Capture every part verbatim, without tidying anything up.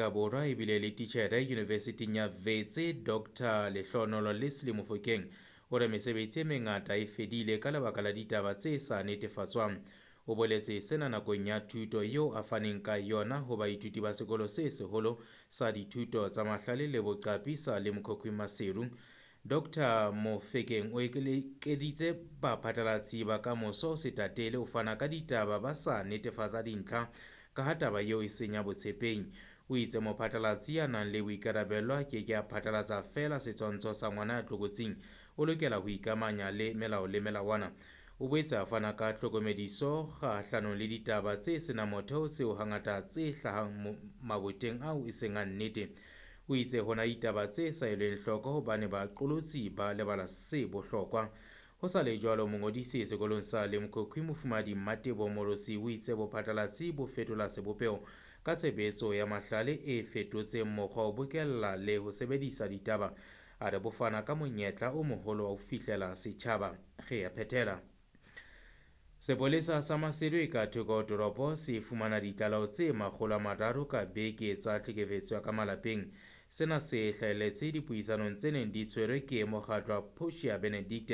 Afrika Borwa ebile le titjhere Yunivesithing ya Wits Doctor Lehlohonolo Leslie Mofokeng o re mesebetsi e mengata e fedile ka lebaka la ditaba tse sa netefatswang. O boletse sena nakong ya thuto eo a faneng ka yona ho baithuti ba sekolo se seholo sa dithuto tsa mahlale le boqapi sa Limkokwing Maseru. Doctor Mofokeng o ekeditse baphatlalatsi ba kamoso se tatele ho fana ka ditaba ba sa netefatsa dintlha ka ha taba eo e senya botshepehi. O itse mophatlalatsi ya nang le boikarabelo a ke ke a phatlalatsa feela setshwantsho sa ngwana ya tlokotsing, o lokela ho ikamanya le melao le melawana. O boetse a fana ka tlhokomediso kgahlanong le ditaba tse senang motheo tseo hangata tse hlahang maboteng ao e seng a nnete. O itse hona ditaba tse sa elweng hloko hobane baqolotsi ba lebala se bohlokwa. Ho sa le jwalo, mongodisi sekolong sa Limkokwing Mofumahadi Mmatebo Morosi o itse bophatlalatsi bo fetola sebopeho ka tshebetso ya mahlale e fetotseng mokgwa ho bokella le ho sebedisa ditaba. A re bo fana ka monyetla o moholo wa ho fihlela setjhaba. Re a phethela. Sepolesa sa Maseru e ka thoko ho toropo se fumana ditlaleho tse makgolo a mararo ka beke tsa tlhekefetso ya ka malapeng. Sena se hlahelletse dipuisanong tse neng di tshwerwe ke mokgatlo wa Portia Benedict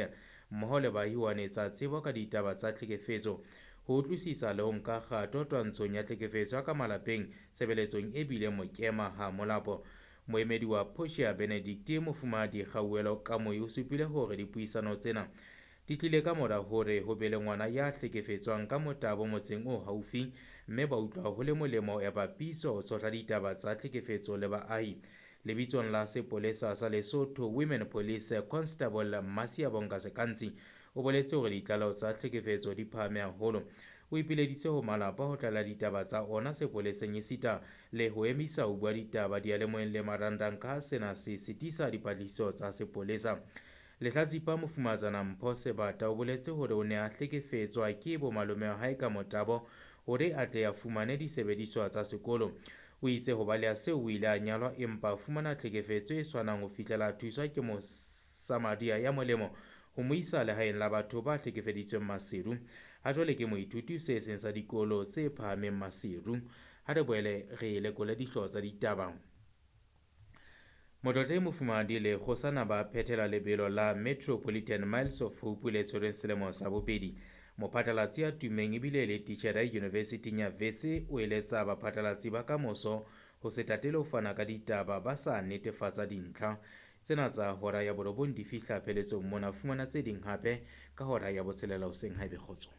mmoho le baahi ho anetsa tsebo ka ditaba tsa tlhekefetso, ho utlwisisa le ho nka kgato twantshong ya tlhekefetso ya ka malapeng tshebeletsong e bileng mokema ha molapo. Moemedi wa Portia Benedict Mofumahadi Kgauhelo Kamoi o supile hore dipuisano tsena di tlile ka mora hore ho be le ngwana ya hlekefetswang ka motabo motseng o haufi, mme ba utlwa ho le molemo ya papiso ho tshohla ditaba tsa tlhekefetso le baahi. Lebitsong la sepolesa sa Lesotho Women Police Constable Masiabonga Sekantsi o boletse hore ditlaleho tsa tlhekefetso di phahame haholo. O ipileditse ho malapa ho tlaleha ditaba tsa ona sepoleseng esita le ho emisa ho bua ditaba diyalemoyeng le marangrang ka ha sena se sitisa dipatlisiso tsa sepolesa. Lehlatsipa Mofumahatsana Mpho Sebata o boletse hore o ne a hlekefetswa ke bomalome wa hae ka motabo hore a tle a fumane disebediswa tsa sekolo. O itse ho baleha seo o ile a nyalwa empa a fumana tlhekefetso e tshwanang ho fihlela a thuswa ke Mosamaria ya molemo ho mo isa lehaeng la batho ba hlekefeditsweng Maseru. Ha jwale ke moithuti se seng sa dikolo tse phahameng Maseru. Ha re boele re lekole dihlooho tsa ditaba. Motlotlehi Mofumahadi le kgosana ba phethela lebelo la Metropolitan Miles of Hope le tshwerweng selemo sa bobedi. Mophatlalatsi ya tummeng ebile le titjhere Yunivesithing ya Wits o eletsa baphatlalatsi ba kamoso ho se tatele ho fana ka ditaba ba sa netefatsa dintlha. Tsena tsa hora ya borobong di fihla pheletsong mona. Fumana tse ding hape ka hora ya botshelela hoseng haebe kgotso.